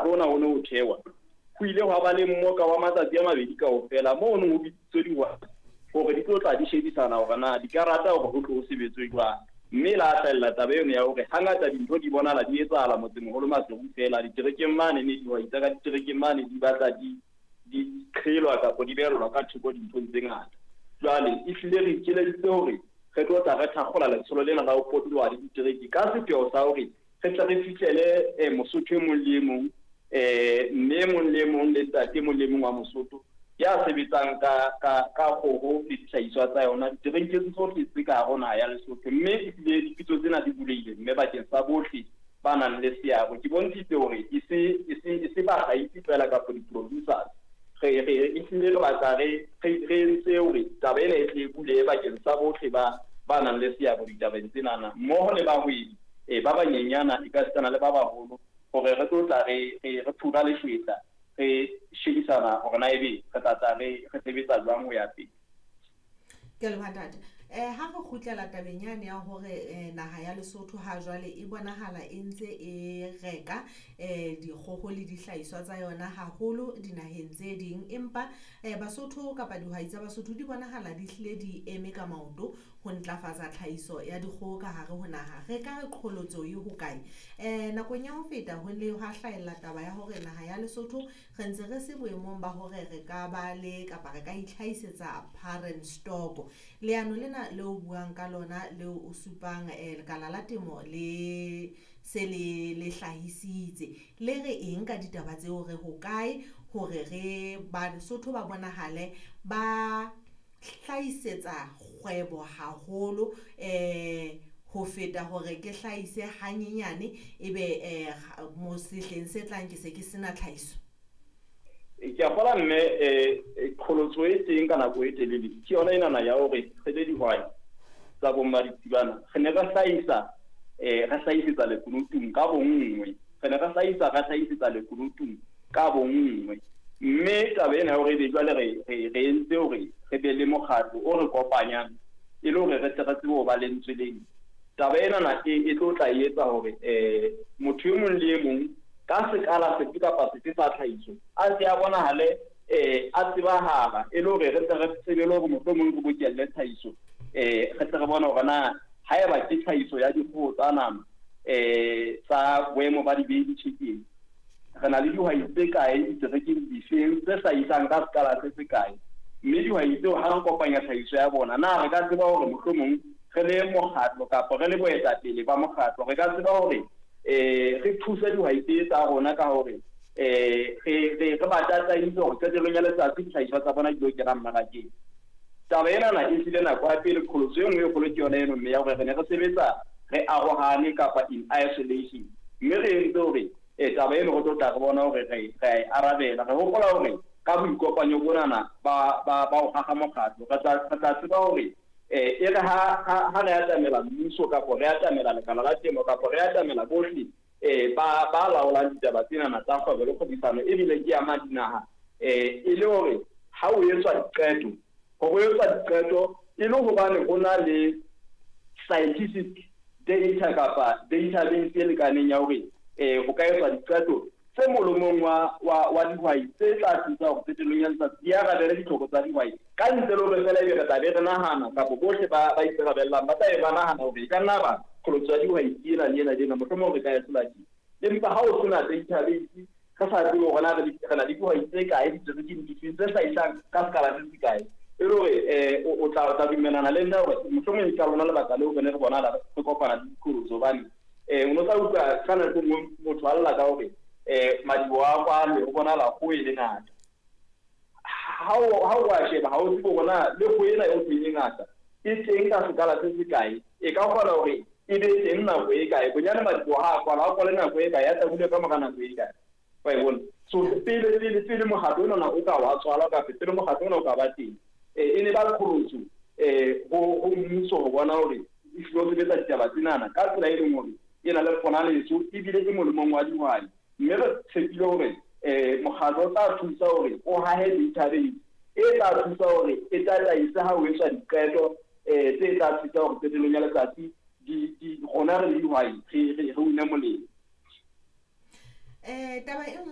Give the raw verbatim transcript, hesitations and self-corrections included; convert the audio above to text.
mokgatlo ona o ne o thewa, ho ile hwa ba le mmoka wa matsatsi a mabedi kaofela moo ho bitsitswe dihwai hore di tlo tla di shebisana hore na di ka rata hore ho tlo ho sebetswe jwang. Mme la hlahella taba eno ya hore hangata dintho di bonahala di etsahala motsemoholo Maseru feela, diterekeng mane ne dihwai tsa ka diterekeng mane di batla di di qhelwa kapa di behellwa ka thoko dinthong tse ngata. Jwale ehlile re ikeleditse hore re tlo tla re thakgola letsholo lena la ho potoloha le ditereke ka sepheo sa hore re tle re fihlele eh, Mosotho e mong le e mong, eh, mme e mong le e mong le ntate e mong le e mong wa Mosotho ya sebetsang ka ka ka kgoho le dihlahiswa tsa yona diterekeng tsohle tse ka hare ho naha ya Lesotho. Mme ehlile dipitso tsena di bulehile mme bakeng sa bohle ba nang le seabo. Ke bontshitse hore e se e se e se bahlahisi feela kapa di-producers, re re ehlile re batla re re re entse hore taba ena e tle e bulehe bakeng sa bohle ba ba nang le seabo ditabeng tsenana, mmoho le bahwebi eh, ba banyenyana e ka sitana le ba baholo, hore re tlo tla re re re phura leshwetla, re shebisana hore na ebe re tla tla re re sebetsa jwang ho ya pele. Ke a leboha ntate. Eh ha re kgutlela tabeng yane ya hore eh, naha ya Lesotho ha jwale e bonahala e ntse e reka eh dikgoho le dihlahiswa tsa yona haholo dinaheng tse ding, empa eh Basotho kapa dihwai tsa Basotho di bonahala di hlile di eme ka maoto ho ntlafatsa tlhahiso ya dikgoho ka hare ho naha. Re ka re qholotso e hokae? Eh nakong ya ho feta ho ne hwa hlahella taba ya hore naha ya Lesotho re ntse re se boemong ba hore re ka ba le kapa re ka itlhahisetsa parent stock. Leano lena leo buang ka lona leo o supang eh, lekala la temo le se le le hlahisitse, le re eng ka ditaba tseo? Re hokae hore re Basotho ba bonahale ba hlahisetsa kgwebo haholo eh ho feta hore ke hlahise hanyenyane ebe eh mo sehleng se tlang ke se ke sena tlhahiso? Ke a kgolwa mme eh qholotso e teng ka nako e telele ke yona enana ya hore re le dihwai tsa bo mmaditsibana re ne re hlahisa eh re hlahisetsa lekunutung ka bonngwe, re ne re hlahisa re hlahisetsa lekunutung ka bonngwe. Mme taba ena ya hore ebe jwale re re re entse hore re be le mokgatlo o re kopanyang e le hore re tle re tsebe ho ba lentswe leng, taba enana e e tlo tla e etsa hore eh motho e mong le e mong ka sekala sefe kapa sefe sa tlhahiso a ntse a bonahale eh a tsebahala, e le hore re tle re tsebe le hore mohlomong re bokelle tlhahiso, eh re tle re bone hore na haeba ke tlhahiso ya dikgoho tsa nama eh tsa boemo ba di-baby chicken, re na le dihwai tse kae diterekeng difeng tse hlahisang ka sekala se se kae, mme dihwai tseo ha re kopanya tlhahiso ya bona na re ka tseba hore mohlomong re le mokgatlo kapa re le boetapele ba mokgatlo re ka tseba hore eh re thuse dihwai tse tsa rona ka hore eh re re re ba tataise hore qetellong ya letsatsi dihlahiswa tsa bona di lo kena mmarakeng. Taba enana e hlile nako ya pele, qholotso e nngwe e kgolo ke yona eno mme ya hore re ne re sebetsa re arohane kapa in isolation, mme re entse hore eh taba eno re tlo tla re bona hore re re a e arabela. Re hopola hore ka boikopanyo bonana ba ba ba ho haha mokgatlo re tla re tla tseba hore eh e re ha ha ha re atamela mmuso kapa re atamela lekala la temo kapa re atamela bohle eh ba ba laolang ditaba tsenana tsa kgwebo le kgwebisano ebile ke ama dinaha, eh e le hore ha o etswa diqeto, ho etswa diqeto e le hobane ho na le scientific data kapa database e lekaneng ya hore eh ho ka etswa diqeto tse molomong wa wa wa dihwai tse tla thusa hore qetellong ya letsatsi di arabele ditlhoko tsa dihwai ka ntle le hore fela ebe re tla be re nahana kapa bohle ba ba ikarabellang ba tla be ba nahana hore e ka nna ba qholotso ya dihwai ke ena le ena le ena, mohlomong re ka e hlola tje. Empa ha o sena database, re sa tsebe hore na re re na le dihwai tse kae diterekeng difeng tse hlahisang ka sekala se se kae, e le hore eh o tla o tla dumellana le nna hore mohlomong e ka lona lebaka leo re ne re bonahala re kopana le diqholotso, hobane eh o no tla utlwa ka nako e nngwe motho a lla ka hore eh madiboho a kwalwe ho bonahala kgoho e le ngata. Ha o ha o a sheba ha o tsebe hore na le kgoho ena eo e ngata e teng ka sekala se se kae, e ka kgona hore e be teng nako e kae, bonyane madiboho ha a kwalwa a kwale nako e kae, a tla ka mora nako e kae, wa e bona. So pele pele pele mokgatlo onana o ka wa tswalwa kapa pele mokgatlo ona o ka ba teng, eh e ne ba qholotso eh ho ho mmuso ho bona hore e hlile o sebetsa ditaba tsenana ka tsela e leng hore e na le ponaletso ebile e molemong wa dihwai. Mme re tshepile hore eh mokgatlo o tla thusa hore o hahe database e tla thusa hore e tataise ha ho etswa diqeto eh tse tla thusa hore qetellong ya letsatsi di di rona re le dihwai re re re une molemo. Eh taba e